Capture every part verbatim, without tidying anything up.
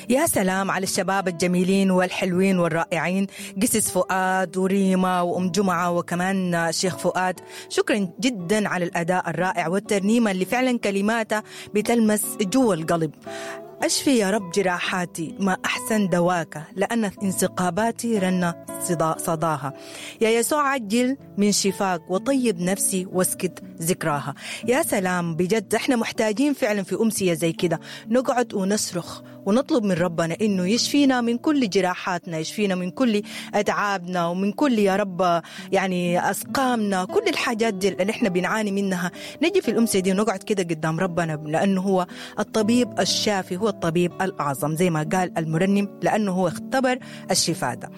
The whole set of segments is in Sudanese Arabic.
يا سلام على الشباب الجميلين والحلوين والرائعين، قسس فؤاد وريما وأم جمعة وكمان شيخ فؤاد. شكرا جدا على الأداء الرائع والترنيمة اللي فعلا كلماتها بتلمس جوا القلب. أشفي يا رب جراحاتي ما أحسن دواك، لأن انسقاباتي رن صداها. يا يسوع عجل من شفاك وطيب نفسي واسكت ذكراها. يا سلام، بجد احنا محتاجين فعلا في أمسية زي كده نقعد ونصرخ ونطلب من ربنا إنه يشفينا من كل جراحاتنا، يشفينا من كل أتعابنا ومن كل يا رب يعني أسقامنا، كل الحاجات دي اللي احنا بنعاني منها. نجي في الأمسية دي ونقعد كده قدام ربنا، لأنه هو الطبيب الشافي، هو الطبيب الأعظم زي ما قال المرنم، لأنه هو اختبر الشفاء ده.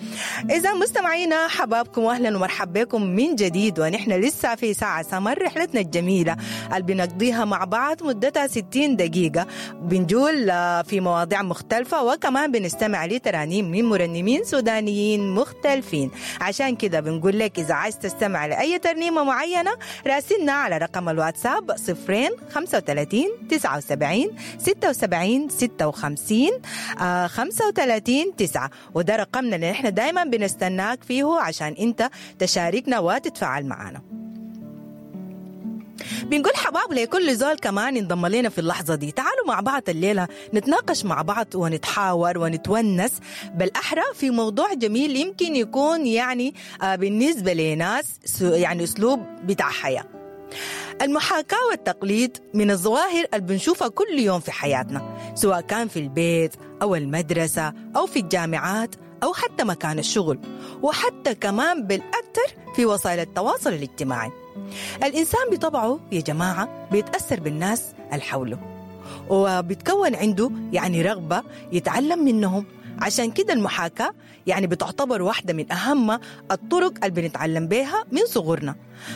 إذا مستمعينا حبابكم وأهلا ومرحبا بكم من جديد، ونحن لسه في ساعة سمر رحلتنا الجميلة اللي بنقضيها مع بعض مدتها ستين دقيقة، بنجول في مواضيع مختلفة وكمان بنستمع لترانيم من مرنمين سودانيين مختلفين. عشان كده بنقول لك إذا عايز تستمع لأي ترنيمة معينة راسلنا على رقم الواتساب صفرين خمسة وثلاثين تسعة وسبعين ستة وسبعين ستة وخمسين خمسة وثلاثين تسعة، وده رقمنا اللي احنا دايما بنستناك فيه عشان انت تشاركنا وتتفاعل معنا. بنقول حباب لكل زول كمان ينضم لنا في اللحظة دي. تعالوا مع بعض الليلة نتناقش مع بعض ونتحاور ونتونس بالأحرى في موضوع جميل يمكن يكون يعني بالنسبة لناس يعني أسلوب بتاع حياة. المحاكاة والتقليد من الظواهر اللي بنشوفها كل يوم في حياتنا، سواء كان في البيت أو المدرسة أو في الجامعات أو حتى مكان الشغل، وحتى كمان بالأكثر في وسائل التواصل الاجتماعي. الإنسان بطبعه يا جماعة بيتأثر بالناس اللي حوله، وبتكون عنده يعني رغبة يتعلم منهم. عشان كده المحاكاة يعني بتعتبر واحدة من أهم الطرق اللي بنتعلم بيها من صغرنا.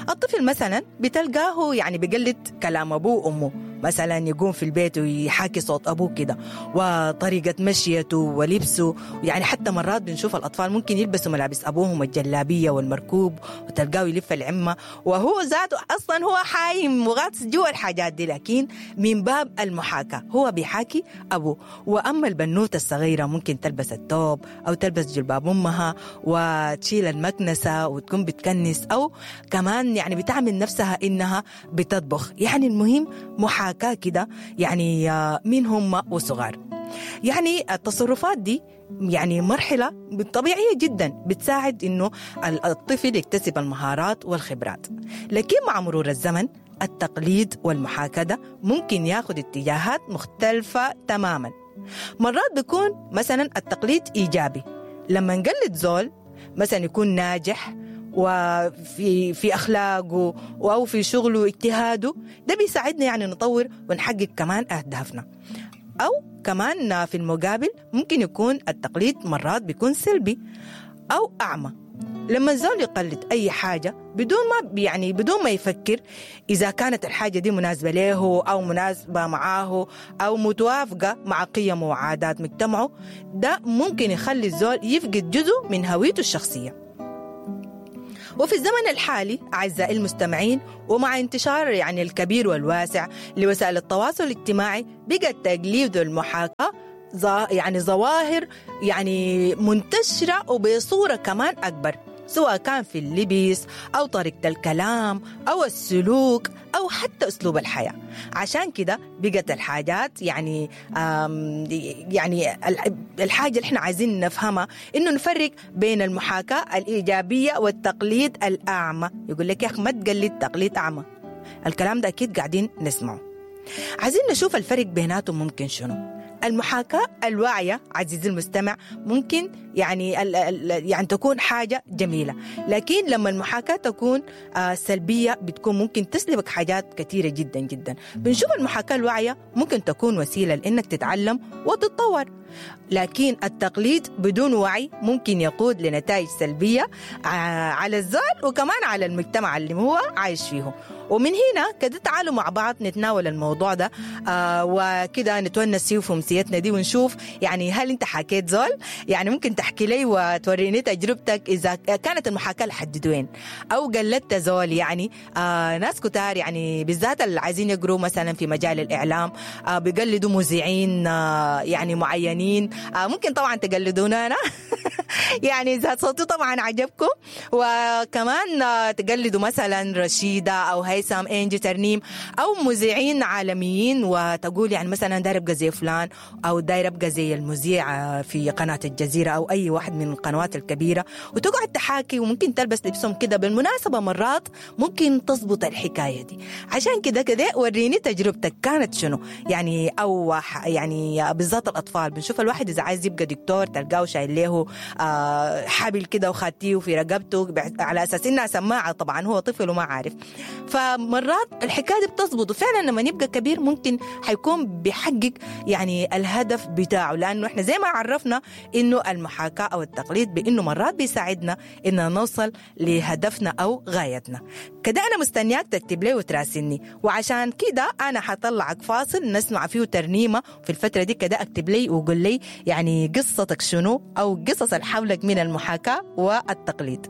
الطفل مثلا بتلقاه يعني بيقلد كلام أبوه وأمه، مثلا يقوم في البيت ويحاكي صوت أبوه كده وطريقة مشيته ولبسه. يعني حتى مرات بنشوف الأطفال ممكن يلبسوا ملابس أبوهم الجلابية والمركوب، وتلقاه يلف العمة وهو ذاته أصلا هو حايم وغاطس جوا الحاجات دي، لكن من باب المحاكاة هو بيحاكي أبوه. وأما البنوتة الصغيرة ممكن تلبس التوب أو تلبس جلباب أمها وتشيل المكنسة وتكون بتكنس، أو كمان يعني بتعمل نفسها إنها بتطبخ. يعني المهم محاكاة كده يعني من هم وصغار. يعني التصرفات دي يعني مرحلة طبيعية جدا بتساعد إنه الطفل يكتسب المهارات والخبرات، لكن مع مرور الزمن التقليد والمحاكاة ده ممكن ياخد اتجاهات مختلفة تماما. مرات بيكون مثلا التقليد إيجابي، لما نقلد زول مثلا يكون ناجح وفي في أخلاقه أو في شغله واجتهاده، ده بيساعدنا يعني نطور ونحقق كمان أهدافنا. أو كمان في المقابل ممكن يكون التقليد مرات بيكون سلبي أو أعمى، لما الزول يقلد أي حاجة بدون ما يعني بدون ما يفكر إذا كانت الحاجة دي مناسبة له أو مناسبة معاه أو متوافقة مع قيمه وعادات مجتمعه، ده ممكن يخلي الزول يفقد جزء من هويته الشخصية. وفي الزمن الحالي أعزائي المستمعين، ومع انتشار يعني الكبير والواسع لوسائل التواصل الاجتماعي، بقى التقليد والمحاكاة يعني ظواهر يعني منتشرة وبصورة كمان أكبر، سواء كان في اللبس أو طريقة الكلام أو السلوك أو حتى أسلوب الحياة. عشان كده بقت الحاجات يعني يعني الحاجة اللي احنا عايزين نفهمها إنه نفرق بين المحاكاة الإيجابية والتقليد الأعمى. يقول لك يا أخي ما تقلد تقليد أعمى، الكلام ده أكيد قاعدين نسمعه. عايزين نشوف الفرق بيناتهم ممكن شنو. المحاكاة الواعية عزيزي المستمع ممكن يعني ال ال يعني تكون حاجة جميلة، لكن لما المحاكاة تكون آه سلبية بتكون ممكن تسلبك حاجات كثيرة جدا جدا. بنشوف المحاكاة الواعية ممكن تكون وسيلة لأنك تتعلم وتتطور، لكن التقليد بدون وعي ممكن يقود لنتائج سلبية على الزول وكمان على المجتمع اللي هو عايش فيه. ومن هنا كده تعالوا مع بعض نتناول الموضوع ده آه وكده نتونس فيه في أمسيتنا دي، ونشوف يعني هل انت حكيت زول؟ يعني ممكن تحكي لي وتوريني تجربتك اذا كانت المحاكاة لحد وين، او قلدت زول. يعني آه ناس كتار يعني بالذات اللي عايزين يقروا مثلا في مجال الاعلام آه بيقلدوا مذيعين آه يعني معينين. آه ممكن طبعا تقلدونا انا يعني اذا صوتي طبعا عجبكم، وكمان آه تقلدوا مثلا رشيده او هيثم، انجي، ترنيم، او مذيعين عالميين، وتقول يعني مثلا داير ابقى زي فلان، او داير ابقى زي المذيع في قناة الجزيرة او اي واحد من القنوات الكبيرة، وتقعد تحاكي وممكن تلبس لبسهم كده. بالمناسبة مرات ممكن تزبط الحكاية دي. عشان كده كده وريني تجربتك كانت شنو يعني، او يعني بالذات الاطفال بنشوف الواحد اذا عايز يبقى دكتور تلقاه شايل له آه حبل كده وخاتيه في رقبته على اساس انها سماعه، طبعا هو طفل وما عارف. فمرات الحكاية دي بتزبط، وفعلا لما يبقى كبير ممكن حيكون بيحقق يعني الهدف بتاعه، لانه احنا زي ما عرفنا انه المحاكاة او التقليد بانه مرات بيساعدنا ان نوصل لهدفنا او غايتنا. كده انا مستنياك تكتب لي وتراسلني، وعشان كده انا حطلعك فاصل نسمع فيه ترنيمة في الفترة دي. كده اكتب لي وقول لي يعني قصتك شنو، او قصص اللي حولك من المحاكاة والتقليد.